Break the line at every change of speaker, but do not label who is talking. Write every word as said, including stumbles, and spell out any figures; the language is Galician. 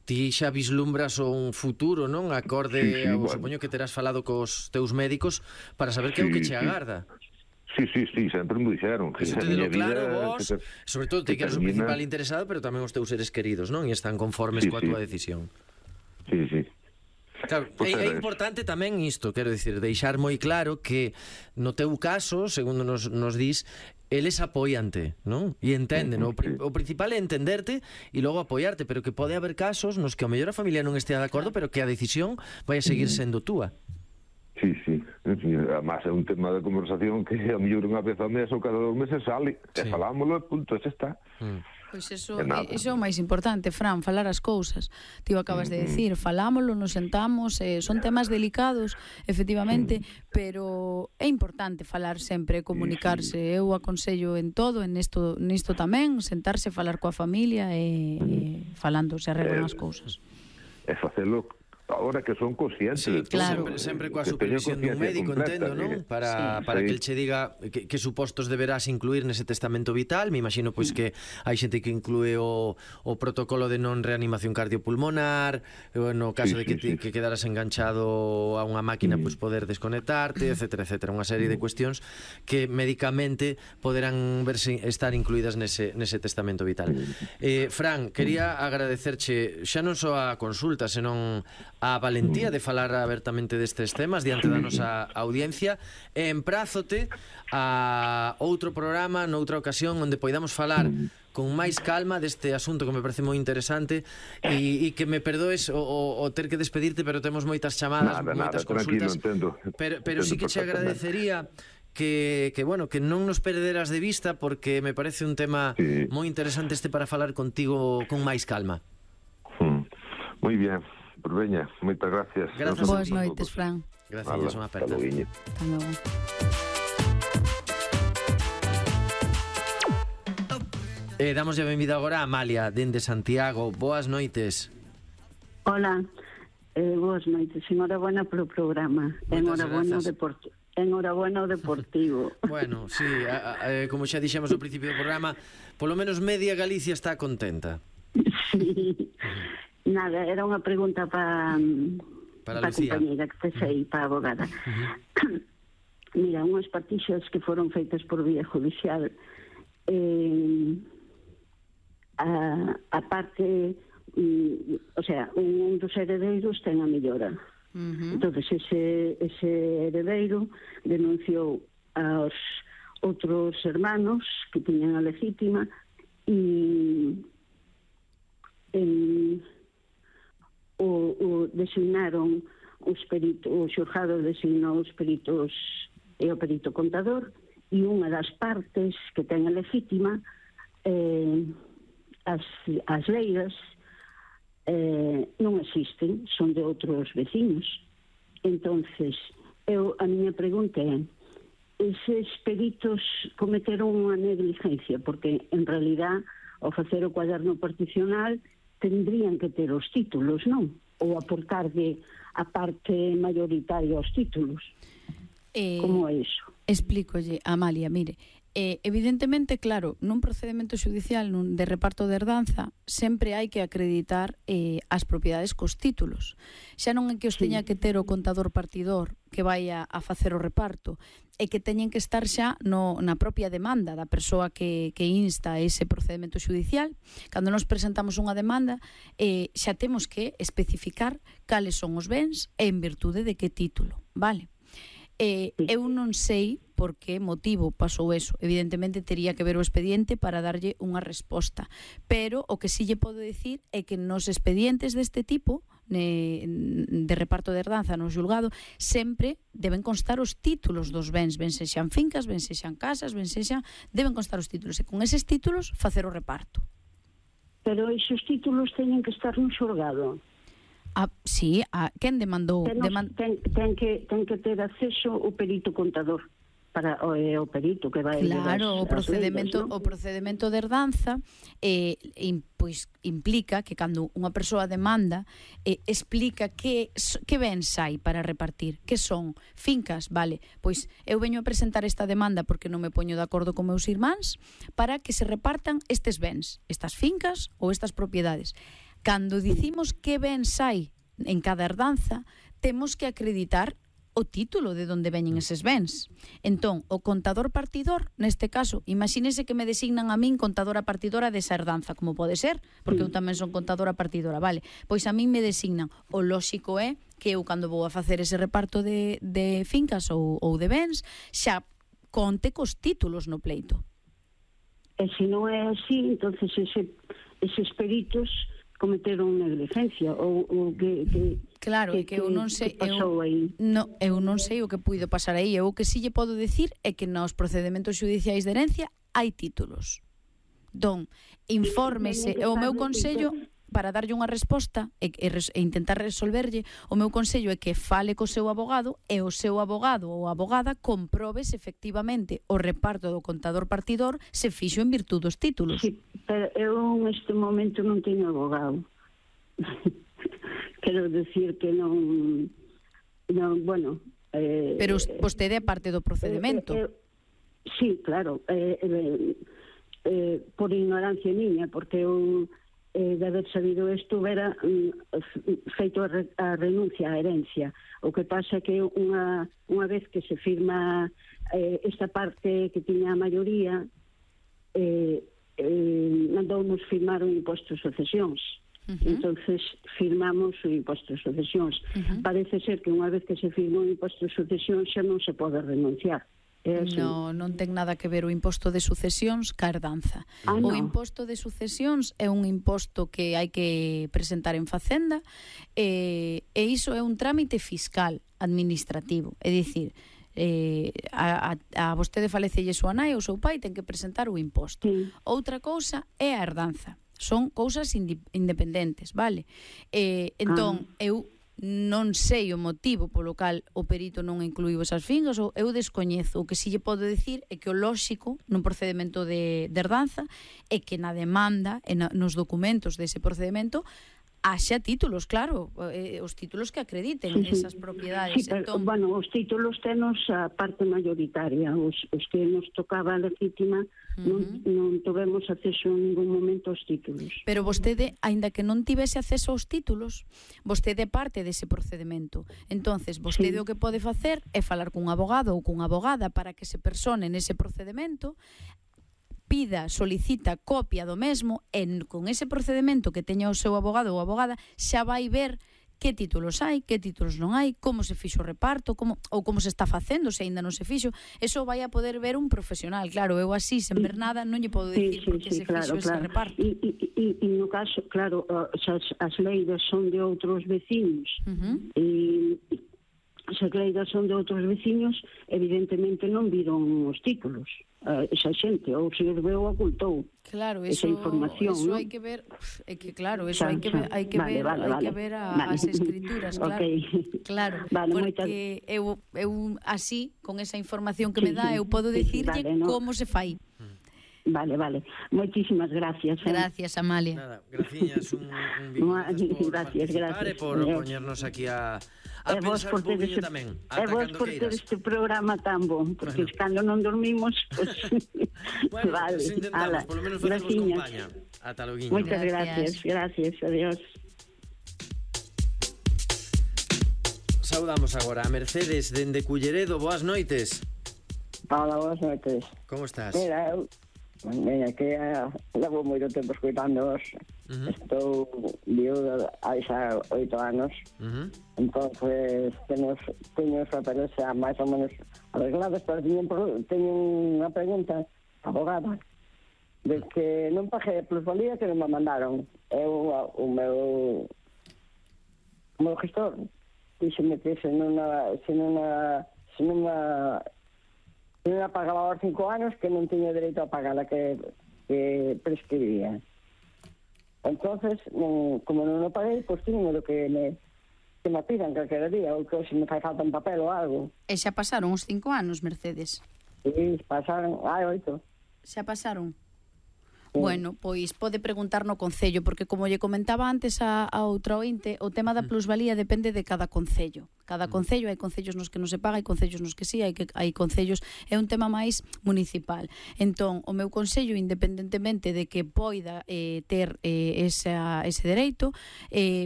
ti xa vislumbras un futuro, non? Acorde,
Sí, sí,
ao,
bueno.
supoño que terás falado cos teus médicos para saber que é o que
Sí,
che
sí.
agarda.
Sí, sí, sí, sempre me dixeron que
Eso
a
te delo
miña
claro,
vida
vos,
que te-
sobre todo ti
que
que eres o
termina-
principal interesado, pero tamén os teus seres queridos, non? E están conformes
Sí,
coa
sí.
túa decisión.
Sí, sí.
Claro,
Pois
é, é
era eso.
importante tamén isto, quero dicir, deixar moi claro que no teu caso, segundo nos, nos dis, eles apoiante, non? E entenden,
Ujú,
o, pri-
sí.
o principal é entenderte e logo apoiarte, pero que pode haber casos nos que ao mellor a familia non estea de acordo, pero que a decisión vai a seguir sendo túa.
Sí, sí. Además é un tema de conversación que a mellor unha vez ao mes ou cada dos meses sale.
Sí.
E falámoslo, punto, xa está.
Mm.
Pois iso,
E nada.
iso é o máis importante, Fran, falar as cousas. Ti o acabas de decir, falámoslo, nos sentamos, eh, son temas delicados, efectivamente, pero é importante falar sempre, comunicarse. Eu aconsello en todo, en isto, nisto tamén, sentarse, falar coa familia e, e falando se arreglan as cousas.
E facelo ahora que son conscientes.
Sí,
de todo,
claro.
sempre, sempre coa
que teño
supervisión dun
conciencia
médico,
completa,
entendo, non?
que-
Para,
Sí.
para
Sí.
que el che diga que, que supostos deberás incluir nese testamento vital. Me imagino pois que hai xente que inclúe o, o protocolo de non reanimación cardiopulmonar, e, no caso
Sí,
de que,
sí,
ti,
sí.
que quedaras enganchado a unha máquina, pois poder desconectarte, etcétera, etcétera. Unha serie de cuestións que médicamente poderán verse estar incluídas nese, nese testamento vital. Eh, Fran, quería agradecerche xa non só a consulta, senón a valentía de falar abertamente destes temas diante da nosa audiencia, e emprázote a outro programa noutra ocasión onde poidamos falar con máis calma deste asunto que me parece moi interesante e, e que me perdoes o, o, o ter que despedirte, pero temos moitas chamadas,
Nada,
moitas
nada, tranquilo,
consultas,
entendo.
pero, pero sí que che
Entendo
agradecería que, que, bueno, que non nos perderas de vista, porque me parece un tema
Sí.
moi interesante este para falar contigo con máis calma.
Mm. Moi bien. Pois veña, moitas gracias.
Grazas
Boas
a ti.
noites, Fran.
Gracias, unha aperta.
Hasta logo.
Hasta logo.
Eh, damos a benvida agora a Amalia, dende Santiago. Boas noites.
Hola, eh, boas noites. Enhorabuena polo programa.
Moitas
Enhorabuena ao
grazas.
deportivo. Enhorabuena ao deportivo.
Bueno, sí, a, a, eh, como xa dixemos ao principio do programa, polo menos media Galicia está contenta.
Sí. Nada, era unha pregunta para
Para
pa
Lucía.
compañera que te sei, para a abogada. Mira, unhas partixas que foron feitas por vía judicial, eh, a, a parte, mm, o sea, un dos heredeiros ten a mellora.
Uh-huh.
Entonces ese, ese heredeiro denunciou aos outros hermanos que tiñan a legítima e en, o, o designaron os peritos, o xurjado designou os peritos e o perito contador, e unha das partes que ten a legítima, eh, as, as leiras eh, non existen, son de outros veciños. Entonces, eu, a miña pregunta é, eses peritos cometeron unha negligencia, porque en realidad ao facer o cuaderno particional tendrían que ter os títulos, non? Ou aportarlle a parte mayoritaria aos títulos.
Eh,
Como é iso?
Explícolle, Amalia, mire, eh, evidentemente, claro, nun procedimento judicial nun de reparto de herdanza sempre hai que acreditar eh, as propiedades cos títulos. Xa non é que os teña que ter o contador partidor que vai a, a facer o reparto, é que teñen que estar xa no, na propia demanda da persoa que, que insta ese procedimento judicial. Cando nos presentamos unha demanda, eh, xa temos que especificar cales son os bens e en virtude de que título, vale? Eh, eu non sei por que motivo pasou eso. Evidentemente tería que ver o expediente para darlle unha resposta, pero o que sí lle podo dicir é que nos expedientes deste tipo de reparto de herdanza no xulgado sempre deben constar os títulos dos bens, ben sexan fincas, ben sexan casas, ben sexan, deben constar os títulos, e con eses títulos facer o reparto.
Pero esos títulos teñen que estar no xulgado.
Ah, sí, a quen demandou?
Ten,
Deman...
ten, ten, que, ten que ter acceso o perito contador para o, eh, o perito que vai
Claro, o
das,
procedimento,
leiras,
o procedimento de herdanza eh, in, pois, implica que cando unha persoa demanda eh, explica que, que bens hai para repartir, que son fincas, vale, pois eu veño a presentar esta demanda porque non me poño de acordo con meus irmáns para que se repartan estes bens, estas fincas ou estas propiedades. Cando dicimos que bens hai en cada herdanza, temos que acreditar o título de onde veñen eses bens. Entón, o contador partidor, neste caso, imagínese que me designan a min contadora partidora desa herdanza, como pode ser, porque eu tamén son contadora partidora, vale? Pois a min me designan. O lóxico é que eu, cando vou a facer ese reparto de, de fincas ou, ou de bens, xa conte cos títulos no pleito.
E se non é así, entonces ese, eses peritos cometeron negligencia ou, ou que, que
claro,
que,
que eu non sei,
que pasou
eu,
aí.
No, eu non sei o que puido pasar aí. Eu o que si lle podo decir é que nos procedementos xudiciais de herencia hai títulos. Don, infórmese, o meu consello para darlle unha resposta e, e, e intentar resolverlle, o meu consello é que fale co seu abogado e o seu abogado ou abogada comprobe se efectivamente o reparto do contador partidor se fixo en virtud dos títulos.
Sí, pero eu neste momento non teño abogado. Quero decir que non, non bueno... Eh,
pero vostede é parte do procedimento.
Eh, eh, sí, claro, eh, eh, eh, por ignorancia miña, porque eu eh, de haber sabido isto vera mm, feito a, re, a renuncia á herencia. O que pasa que unha, unha vez que se firma eh, esta parte que tiña a maioría, eh, eh, mandounos firmar un imposto de sucesións. Uh-huh. Entonces firmamos o imposto de sucesións. Uh-huh. Parece ser que unha vez que se firma un imposto de sucesións xa non se pode renunciar.
No, non ten nada que ver o imposto de sucesións ca herdanza.
Ah,
o
no.
imposto de sucesións é un imposto que hai que presentar en Facenda e, e iso é un trámite fiscal administrativo. É dicir, eh, a, a, a vostede falecelle súa nai ou seu pai ten que presentar o imposto.
Sí.
Outra cousa é a herdanza. Son cousas independentes, vale? Eh, entón, ah. eu non sei o motivo polo cal o perito non incluiu esas fincas, ou eu descoñezo. O que si lle podo decir é que o lóxico nun procedimento de, de herdanza é que na demanda e na, nos documentos dese procedimento haxa títulos, claro, eh, os títulos que acrediten
sí, sí.
esas propiedades.
Sí, pero,
entón,
bueno, os títulos tenos a parte mayoritaria, os, os que nos tocaba a legítima, uh-huh. non, non tivemos acceso en ningún momento aos títulos.
Pero vostede, aínda que non tivese acceso aos títulos, vostede é parte dese procedimento. Entonces, vostede sí. o que pode facer é falar cun abogado ou cunha abogada para que se persone nese procedimento, pida, solicita copia do mesmo e con ese procedimento que teña o seu abogado ou abogada xa vai ver que títulos hai, que títulos non hai, como se fixo o reparto, como, ou como se está facendo, se aínda non se fixo. Eso vai a poder ver un profesional. Claro, eu así, sen ver nada, non lle podo dicir sí, sí, porque sí, se claro, fixo claro. ese reparto.
E, e, e, e no caso, claro, as, as leiras son de outros veciños, uh-huh. e as leiras son de outros veciños, evidentemente non viron os títulos. Uh, esa xente, ou se os veu ocultou
claro, eso,
esa información,
eso
¿no?
hai que ver, é que claro, eso hai que ver, hai que
vale,
ver,
vale,
hai
vale.
que ver a,
vale.
as escrituras, claro.
Okay.
Claro,
vale,
porque
moitas...
eu eu así con esa información que
sí,
me dá,
sí,
eu podo
sí,
dicirlle
vale, ¿no?
como se fai.
Vale, vale. Moitísimas gracias. Eh?
Gracias, Amalia.
Nada, graciñas, un, un bico por
gracias,
participar
gracias.
e por eh. poñernos aquí a, a
e vos
pensar un pouquinho
este,
tamén.
E vos por ter este programa tan bon, porque bueno. cando non dormimos, pues...
bueno,
vale.
pues intentamos,
Ala.
por lo menos facemos compañía. Ata loguiño.
Moitas gracias, gracias, adiós.
Saudamos agora a Mercedes dende Culleredo. Boas noites.
Hola, boas noites.
Como estás?
Mira, eu, mira, que uh, levo moito tempo escoitándoos. Uh-huh. Estou viuda hai xa oito anos. Uh-huh. Entonces, teño, teño os papeles xa máis ou menos arreglados, pero teño, teño unha pregunta abogada de que non paguei a plusvalía que non me mandaron. Eu, o meu o meu gestor dixeme que se non a, se non a, se non a se non a pagaba aos cinco anos que non tiña dereito a pagar a que, que prescribía. Entonces, non, como non o paguei, pois tiño do que me, que me pidan calquera día, ou que se me fai falta un papel ou algo.
E xa pasaron os cinco anos, Mercedes?
Sí, pasaron, hai oito.
Xa pasaron? Bueno, pois pode preguntar no concello, porque como lle comentaba antes a, a outra ointe, o tema da plusvalía depende de cada concello. Cada concello, hai concellos nos que non se paga, hai concellos nos que sí, hai que hai concellos, é un tema máis municipal. Entón, o meu concello, independentemente de que poida eh, ter eh, esa, ese dereito, eh,